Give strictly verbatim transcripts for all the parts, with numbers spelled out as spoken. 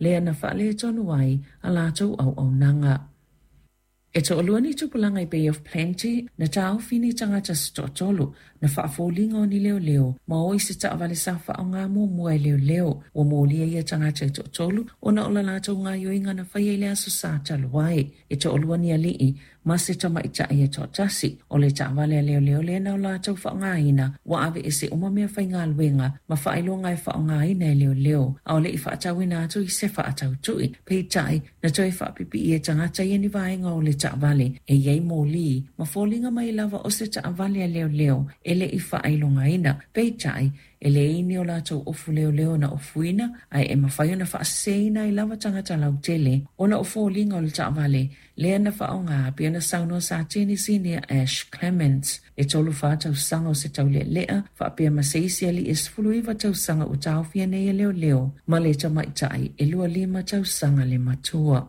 lea na faaletonu ai a latou auaunaga. E to'alua ni tupulaga i Bay of Plenty na taofi ni tagata se to'atolu na faafoliga o ni leoleo ma o i se taavale sa faaaoga muamua e leoleo. Ua molia ia tagata e to'atolu ona o la latou gaoioiga na faia i le aso Sa talu ai. E to'alua ni ali'i ma se tamaita'i e to'atasi. O le taavale a leoleo lea na o latou faaaogaina ua aveese uma mea faigaluega ma faailoga e faaaogaina e leoleo a o le'i faatauina atu i se faatautu'i. Peitai na toe faapipii e tagata ia ni vaega o le taavale e iai moli ma foliga mai lava o se taavale a leoleo e le'i faailogaina. Peitai e leai ni o latou ofu leoleo na ofuina ae e mafai ona faaseseina ai lava tagata lautele ona o foliga o le taavale lea na faaaoga pei ona saunoa Satini Sinia Ash Clements. E tolu fa tausaga o se taulealea faapea ma se isi ali'i e sefulu iva tausaga ua taofia nei e leoleo ma le tamaita'i e lua lima tausaga le matua.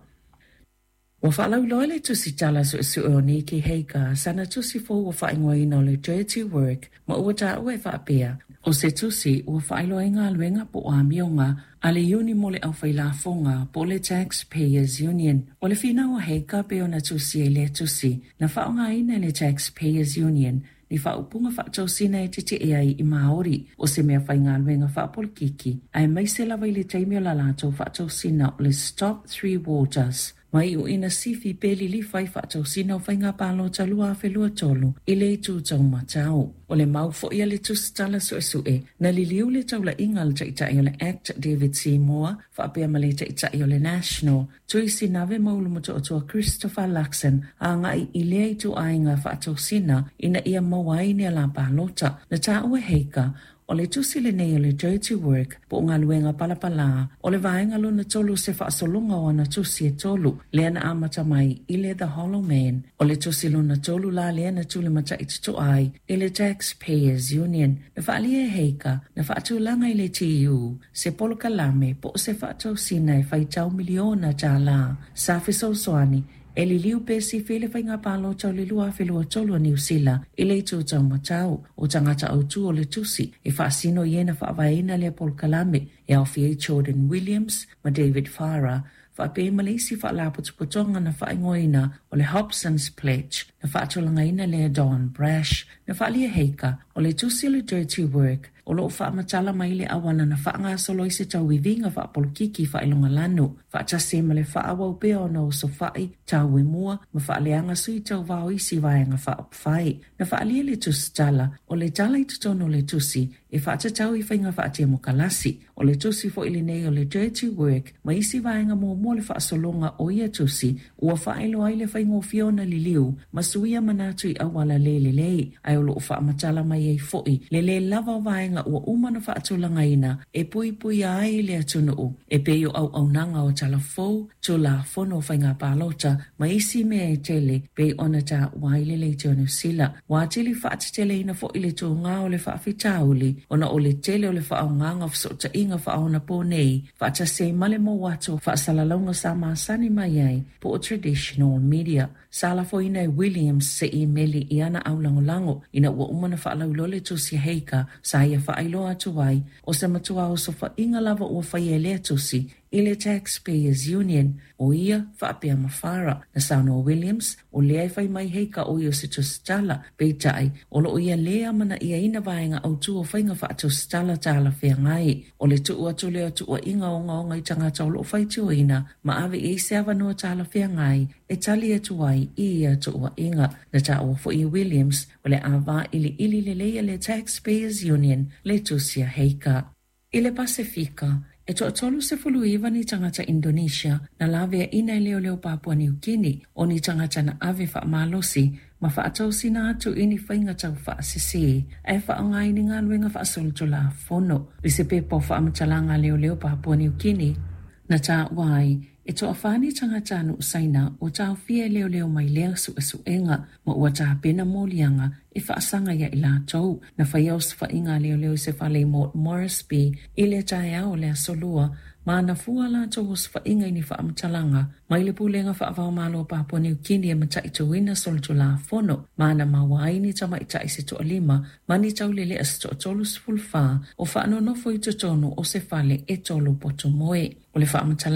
Ua faalauiloa le tusitala suesue o Nicky Hager sana tusi fou ua faaigoaina o le Dirty Work ma ua taua e faapea o se tusi ua faailoa ai galuega po o amioga a le iuni mo le aufailafoga po o le Taxpayers Union. O le finau a Hager pei ona tusi ai lea tusi na faaaogaina e le Taxpayers Union ni faaupuga faatosina e tetee ai i Māori o se mea faigaluega faapolokiki aemaise lava i le taimi o la latou faatosina o le Stop Three Waters mai uina sifi pe lilifa i faatosina o faiga palota lua afe lua tolu i le itu taumatau. O le mau foi a le tusitala suesue na liliu le taulaiga a le taitai o le Act David Seymour faapea ma le taitai o le National Tui Sinave ma Ulumotootua Christopher Luxon agai i lea ituaiga faatosina ina ia maua ai ni ala palota. Na taua e Hager o le tusi lenei o le Dirty Work po o galuega palapalā o le vaega lona tolu se faasologa o ana tusi e tolu lea na amata mai i le The Hollow Man. O le tusi lona tolu la lea na tulimata'i totoa ai i le Taxpayers Union. Na faaalia e Hager na faatulaga i le T U se polokalame po o se faatosina e faitau miliona tālā sa fesoasoani e liliu pe sifi le faiga palota o le lua afe lua tolu a Niu Sila i le itu taumatau. O tagata autū o le tusi e faasino i e na faavaeina lea polokalame e aofia ai Jordan Williams ma David Farah faapea ma le isi faalapotopotoga na faaigoaina o le Hobson's Pledge na faatulagaina lea Don Brash. Na faaalia e Hager o le tusi o le Dirty Work o loo faamatala mai le auala na faagasolo ai se tauiviga faapolokiki faailogalanu faatasi ma le faaauau pea ona osofa'i tauemua ma faaleaga sui tauvao isi vaega faaupufai. Na faaalia le tusitala o le tala i totonu o le tusi e faatatau i faiga faatemokalasi. O le tusi fo'i lenei o le Dirty Work ma isi vaega muamua le faasologa o ia tusi ua faailoa ai le faigofie ona liliu ma suia manatu i auala lē lelei ae o loo faamatala mai ai fo'i le lē lava o vaega ua uma na faatulagaina e puipuia ai le atunuu e pei o auaunaga o talafou tulafono o faiga palota ma isi mea e tele pei ona taua ai le leitio Niu Sila. Ua atili faateteleina fo'i le tugā o le faafitauli ona o le tele o le faaaogaga o fesootaiga faaonapo nei faatasi ai ma le mou atu o faasalalauga sa masani mai ai po o traditional media. Sa lafoina e Williams se imeli i ana aulagolago ina ua uma na faalauiloa le tusi a Hager sa ia faailoa atu ai o se matua osofa'iga lava ua faia e lea tusi i le Taxpayers Union o ia faapea ma Farah. Na saunoa Williams o lea e fai mai Hager o ia o se tusitala, peitai o loo ia lē amana'iaina vaega autū o faiga faatusitala talafeagai. O le tuu atu lea o tuua'iga ogaoga i tagata o loo faitioina ma ave i ai se avanoa talafeagai e tali atu ai i ia tuua'iga. Na taua fo'i e Williams o le a vailiili lelei e le Taxpayers Union le tusi a Hager. I le Pasefika, e toatolu sefulu iva ni tagata Indonesia na laveaina e leoleo Papua Niu Kini o ni tagata na ave faamalosi ma faatosina atu i ni faiga taufaasesē ae faaaoga ai ni galuega faasolitulafono. I se pepa o faamatalaga a leoleo Papua Niu Kini na taua ai e toafā ni tagata nuu Saina ua taofia e leoleo mai lea suesuega ma ua tapena moliaga e faasaga ia i latou. Na faia osofaiga a leoleo i se fale i Port Moresby i le taeao o le aso Lua ma na fua latou osofaiga i ni faamatalaga mai le pulega faavaomalo o Papua Niu Kini e mataituina solitulafono ma na maua ai ni tamaita'i se toalima ma ni taulele'a se toatolu sefulufā o faanonofo i totonu o se fale e tolu potomoe. O le faamatalaga